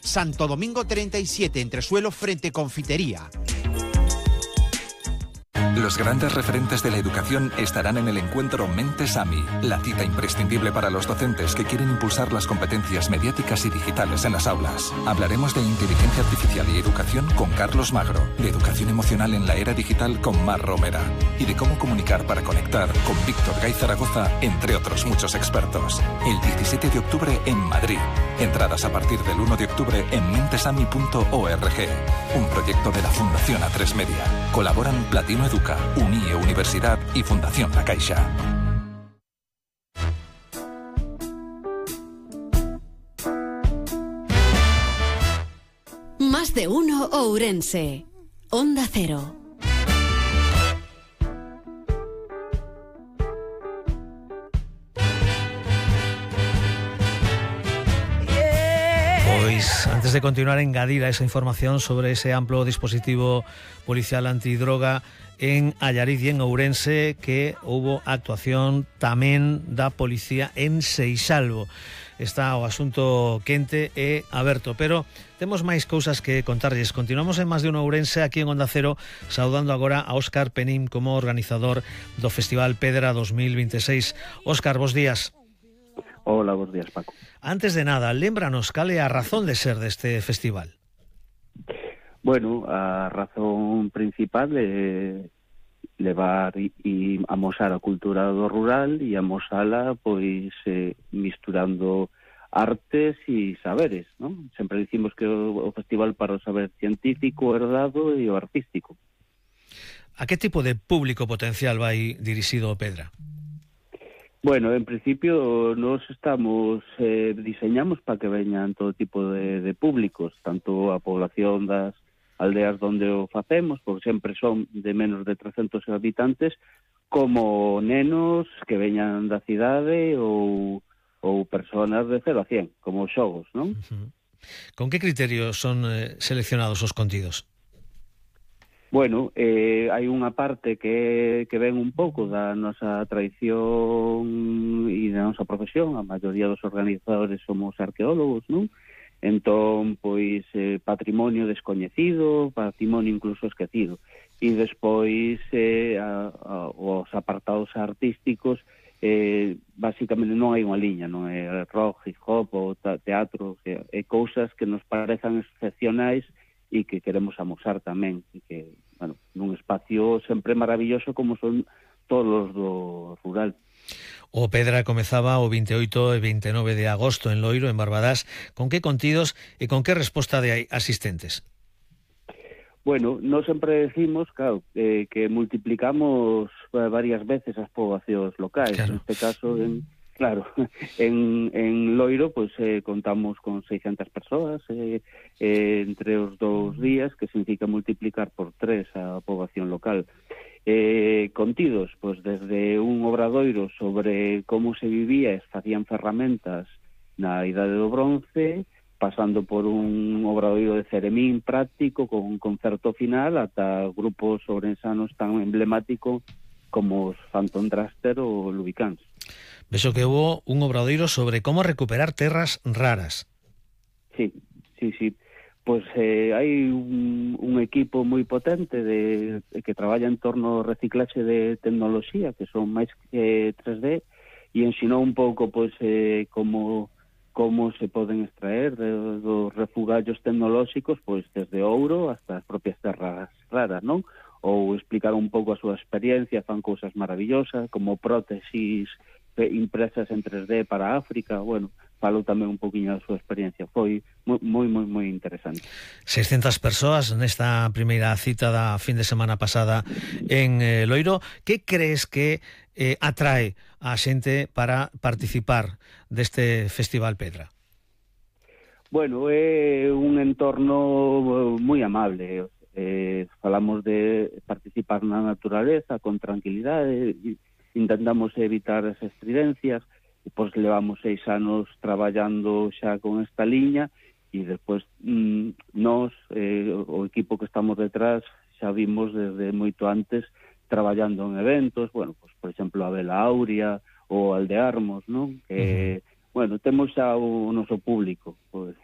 Santo Domingo 37, entresuelo frente Confitería. Los grandes referentes de la educación estarán en el encuentro Mentes AMI, la cita imprescindible para los docentes que quieren impulsar las competencias mediáticas y digitales en las aulas. Hablaremos de inteligencia artificial y educación con Carlos Magro, de educación emocional en la era digital con Mar Romera y de cómo comunicar para conectar con Víctor Gay Zaragoza, entre otros muchos expertos. El 17 de octubre en Madrid. Entradas a partir del 1 de octubre en mentesami.org. Un proyecto de la Fundación A3 Media. Colaboran Platino Educa, UNIE Universidad y Fundación La Caixa. Más de uno Ourense. Onda Cero. Pois, antes de continuar, engadir a esa información sobre ese amplo dispositivo policial antidroga en Allariz e en Ourense, que houbo actuación tamén da policía en Seixalbo. Está o asunto quente e aberto, pero temos máis cousas que contarlles. Continuamos en Más de uno Ourense, aquí en Onda Cero, saudando agora a Óscar Penín como organizador do Festival Pedra 2026. Óscar, bos días. Hola, bos días, Paco. Antes de nada, lémbranos cal é a razón de ser deste festival. Bueno, a razón principal é levar e amosar a cultura do rural e amosala, pois, misturando artes e saberes, non? Sempre dicimos que o festival para o saber científico, herdado e o artístico. A que tipo de público potencial vai dirixido o Pedra? Bueno, en principio nos estamos diseñamos para que veñan todo tipo de públicos, tanto a población das aldeas donde o facemos, porque sempre son de menos de 300 habitantes, como nenos que veñan da cidade ou personas de 0 a 100, como xogos, non? Con que criterios son seleccionados os contidos? Bueno, hai unha parte que ven un pouco da nosa tradición e da nosa profesión. A maioría dos organizadores somos arqueólogos, non? Entón, pois, patrimonio descoñecido, patrimonio incluso esquecido. E despois, os apartados artísticos, basicamente non hai unha liña, non é rock, hip hop ou teatro, é cousas que nos parezan excepcionais e que queremos amosar tamén, e que, bueno, nun espacio sempre maravilloso como son todos os do rural. O Pedra comezaba o 28 e 29 de agosto en Loiro, en Barbadás. Con que contidos e con que resposta de asistentes? Bueno, nós sempre decimos, claro, que multiplicamos varias veces as poboacións locais. Claro. Neste caso, en Loiro, pues, contamos con 600 persoas entre os 2 días, que significa multiplicar por 3 a poboación local. Contidos, pues, desde un obradoiro sobre como se vivía e facían ferramentas na Idade do Bronce, pasando por un obradoiro de ceremín práctico con un concerto final, ata grupos ourensanos tan emblemáticos como os Phantom Draster ou Lubicans. Vexo que hubo un obradoiro sobre como recuperar terras raras. Sí. Pois hai un equipo moi potente que traballa en torno ao reciclaxe de tecnoloxía, que son máis que 3D, e ensinou un pouco, pois, como se poden extraer dos refugallos tecnolóxicos, pois, desde ouro hasta as propias terras raras, non? Ou explicar un pouco a súa experiencia, fan cousas maravillosas, como prótesis impresas en 3D para África. Bueno, falou tamén un poquinho da súa experiencia. Foi moi interesante. 600 persoas nesta primeira cita da fin de semana pasada en Loiro. Que crees que atrae a xente para participar deste Festival Pedra? Bueno, é un entorno moi amable. Falamos de participar na naturaleza con tranquilidade, intentamos evitar as estridencias, e pois levamos 6 anos traballando xa con esta liña, e despois nós, o equipo que estamos detrás, xa vimos desde moito antes traballando en eventos, bueno, pois, por exemplo, a Vela Aurea ou Aldearmos, non? Que, bueno, temos xa o noso público, pois.